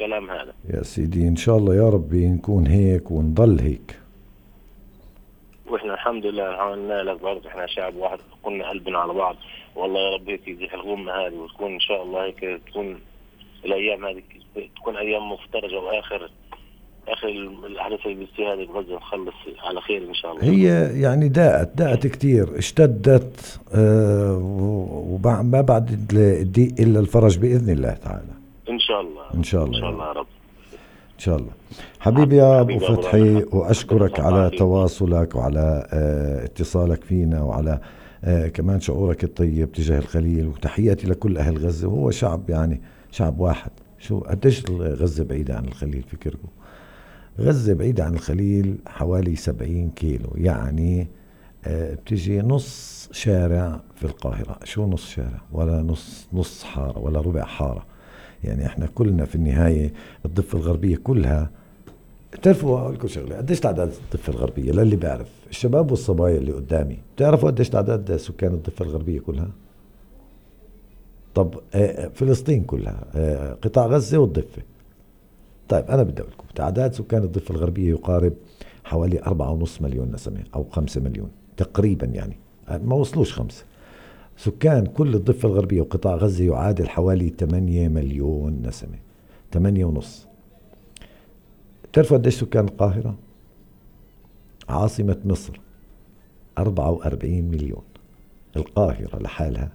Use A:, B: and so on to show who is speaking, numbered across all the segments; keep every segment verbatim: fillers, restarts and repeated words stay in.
A: الكلام هذا.
B: يا سيدي إن شاء الله يا ربي نكون هيك ونضل هيك.
A: واحنا الحمد لله عملنا لك برضه، احنا شعب واحد كنا قلبنا على بعض، والله يا رب هيك يزيح الغمة هذه وتكون ان شاء الله هيك تكون الايام هذه تكون ايام مفترجة، واخر اخر الاحداث اللي بتصير هذه بغزة نخلص على خير ان شاء الله.
B: هي يعني داءت داءت كتير اشتدت آه وما بعد الضيق الا الفرج باذن الله تعالى
A: ان شاء الله
B: ان شاء الله
A: ان شاء الله يا رب.
B: إن شاء الله. حبيبي يا أبو فتحي، وأشكرك على تواصلك وعلى اه اتصالك فينا وعلى اه كمان شعورك الطيب تجاه الخليل، وتحياتي لكل أهل غزة. وهو شعب يعني شعب واحد. شو قديش غزة بعيدة عن الخليل فكركم؟ غزة بعيدة عن الخليل حوالي سبعين كيلو، يعني اه بتجي نص شارع في القاهرة. شو نص شارع؟ ولا نص نص حارة ولا ربع حارة. يعني احنا كلنا في النهاية الضفة الغربية كلها. تعرفوا اقول لكم شغله، قديش تعداد الضفة الغربية؟ للي بيعرف الشباب والصبايا اللي قدامي، بتعرفوا قديش تعداد سكان الضفة الغربية كلها؟ طب فلسطين كلها، قطاع غزة والضفة. طيب انا بدي اقول لكم تعداد سكان الضفة الغربية يقارب حوالي أربعة ونص مليون نسمة او خمسة مليون تقريبا، يعني ما وصلوش خمسة. سكان كل الضفة الغربية وقطاع غزة يعادل حوالي ثمانية مليون نسمة، ثمانية ونص. تعرفوا قديش سكان القاهرة؟ عاصمة مصر أربعة وأربعين مليون. القاهرة لحالها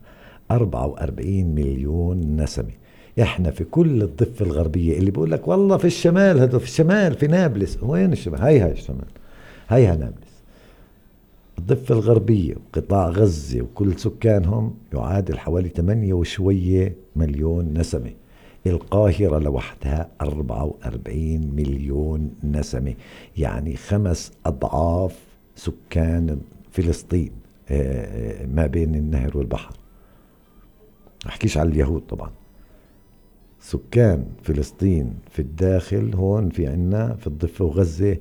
B: أربعة وأربعين مليون نسمة. احنا في كل الضفة الغربية اللي بيقول لك والله في الشمال، هذا في الشمال في نابلس. وين الشمال؟ هاي هاي الشمال، هاي ها نابلس. الضفة الغربية وقطاع غزة وكل سكانهم يعادل حوالي ثمانية وشوية مليون نسمة. القاهرة لوحدها أربعة وأربعين مليون نسمة، يعني خمس أضعاف سكان فلسطين ما بين النهر والبحر. أحكيش على اليهود طبعا. سكان فلسطين في الداخل هون في عنا في الضفة وغزة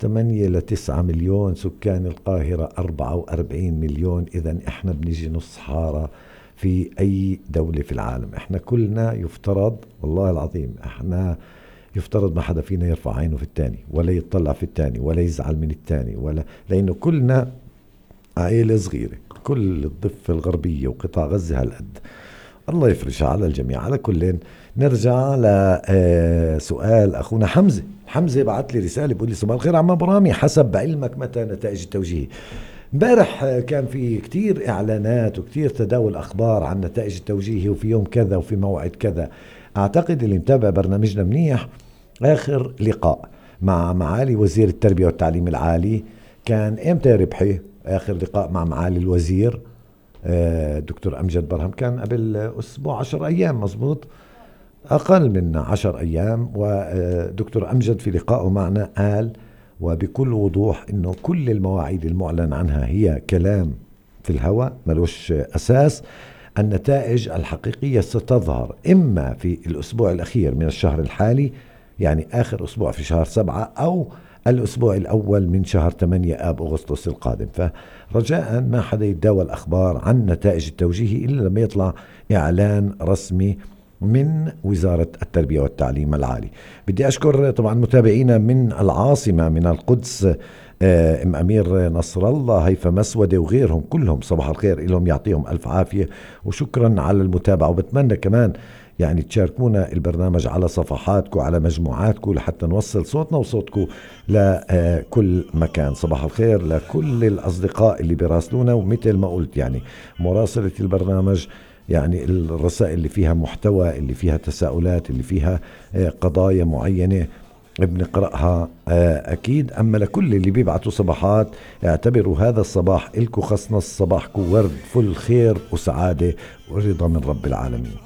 B: ثمانية لتسعة مليون، سكان القاهرة أربعة وأربعين مليون. إذن إحنا بنيجي نص حارة في أي دولة في العالم. إحنا كلنا يفترض والله العظيم إحنا يفترض ما حدا فينا يرفع عينه في التاني ولا يطلع في التاني ولا يزعل من التاني، ولا لأنه كلنا عائلة صغيرة. كل الضفة الغربية وقطاع غزة هالقد. الله يفرجها على الجميع. على كل نرجع لسؤال أخونا حمزة. حمزة بعت لي رسالة بيقول لي صباح الخير عم برامي، حسب علمك متى نتائج التوجيهي؟ امبارح كان في كتير إعلانات وكتير تداول أخبار عن نتائج التوجيهي وفي يوم كذا وفي موعد كذا. أعتقد اللي متابع برنامجنا منيح آخر لقاء مع معالي وزير التربية والتعليم العالي كان إمتى ربحي؟ آخر لقاء مع معالي الوزير دكتور أمجد برهم كان قبل أسبوع عشر أيام مزبوط، أقل من عشر أيام. ودكتور أمجد في لقائه معنا قال وبكل وضوح إنه كل المواعيد المعلن عنها هي كلام في الهواء ملوش أساس. النتائج الحقيقية ستظهر إما في الأسبوع الأخير من الشهر الحالي، يعني آخر أسبوع في شهر سبعة، أو الأسبوع الأول من شهر ثمانية آب أغسطس القادم. فرجاء ما حدا يتداول أخبار عن نتائج التوجيهي إلا لما يطلع إعلان رسمي من وزارة التربية والتعليم العالي. بدي أشكر طبعا متابعينا من العاصمة من القدس، ام امير نصر الله، هيفا مسودة وغيرهم كلهم صباح الخير لهم، يعطيهم الف عافية وشكرا على المتابعة. وبتمنى كمان يعني تشاركونا البرنامج على صفحاتكم على مجموعاتكم لحتى نوصل صوتنا وصوتكم لكل مكان. صباح الخير لكل الأصدقاء اللي براسلونا، ومثل ما قلت يعني مراسلة البرنامج يعني الرسائل اللي فيها محتوى، اللي فيها تساؤلات، اللي فيها قضايا معينة بنقرأها أكيد. أما لكل اللي بيبعتوا صباحات اعتبروا هذا الصباح إلكو خص نص، صباحكم ورد فل خير وسعادة ورضا من رب العالمين.